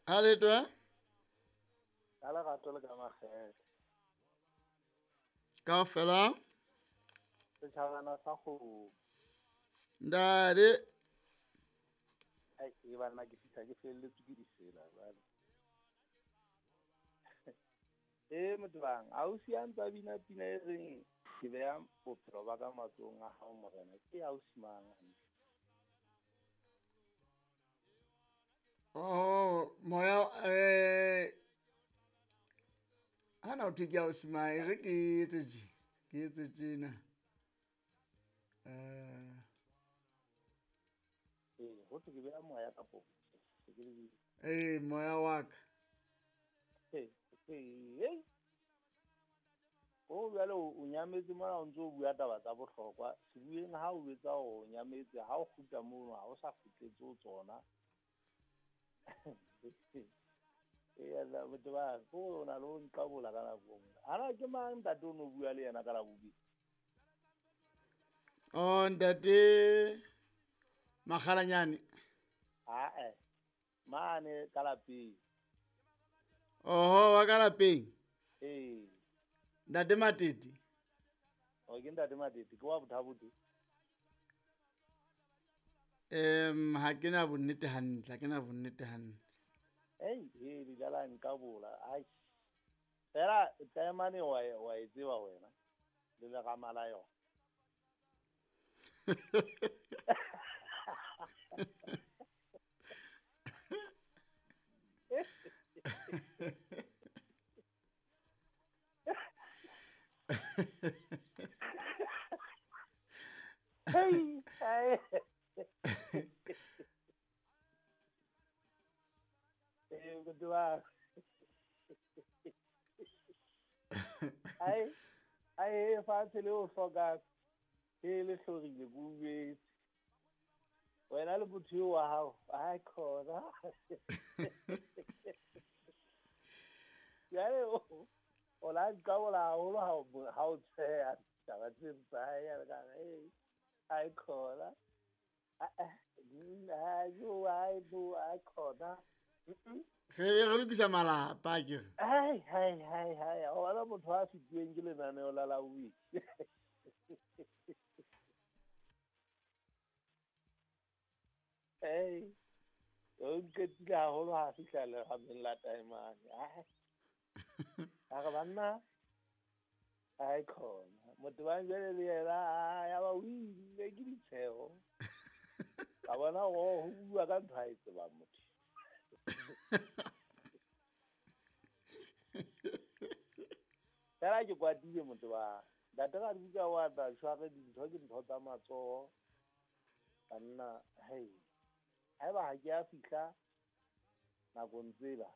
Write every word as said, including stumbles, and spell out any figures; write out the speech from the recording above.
A letwa? Ka lerato le ka makgethe. Kaofela? Setjhabana sa kgomo. Ntate. Ai, e banna ke fihla ke felletswe ke ditsela jwale. Eh motho bang, ausi a ntsa bina pina e reng ke beha bophelo ba ka matsohong a hao morena. Ke ausi mang hantle? Oh, moya eh hana o thwe ke ausi mang, e re ke etse tje, ke etse tjena. Eh Eh, ho thwe ke beha moya kapo. Eh, moya wa ka. Eh, eh. O jwale o nyametse mona o ntso bua taba tsa bohlokwa. Sebueng ha o etsa o nyametse ha o kgutla mono ha o sa kgutletse ho tsona. Eh, la botho ba ko na lo nqabola ka nako nngwe. Ana ke mang ntate o no bua le yena ka la bobedi? Oh, ntate Makgalanyane. Ah eh. Mane ka lapeng. Oho, wa ka lapeng? Eh. Ntate Matete. O ke ntate Matete, ke wa Bothabote. Em, ha ke na bonnete hantle, ha ke na bonnete hantle. Ei, he di dlala nka bola. Ai. Fela taemane wa wa e tseba wena. Le le ga mala yona. Hey, hey. Eh, motho wa. Ai, ai fatshe le o hloka e le hlorile ke o jwetse. Wena le motho eo wa hao, ai khona. Jwale o o la nqabola haholo ha o ha o tsheha taba tse tsa hae ya ka hey ai khona. Ai bo ai khona. Re re lokisa malapa ke re. Ai hai hai hai, o bona motho a fetuweng ke lenaneo la la week. Hey, o nqetile haholo ha fihla lerameng la taemane. Ai. A re banna ai khona. Motho ba jwale le yena ya ba o ile ke ditsheho. Ka bona ho bua ka ntho a e tsebang motho. Fela ke kwatile motho ba. Ntate ga di wa tla tshware dintho ke ntho tsa matsoho. Banna, hey. Haeba ha ke a fihla nakong tsela,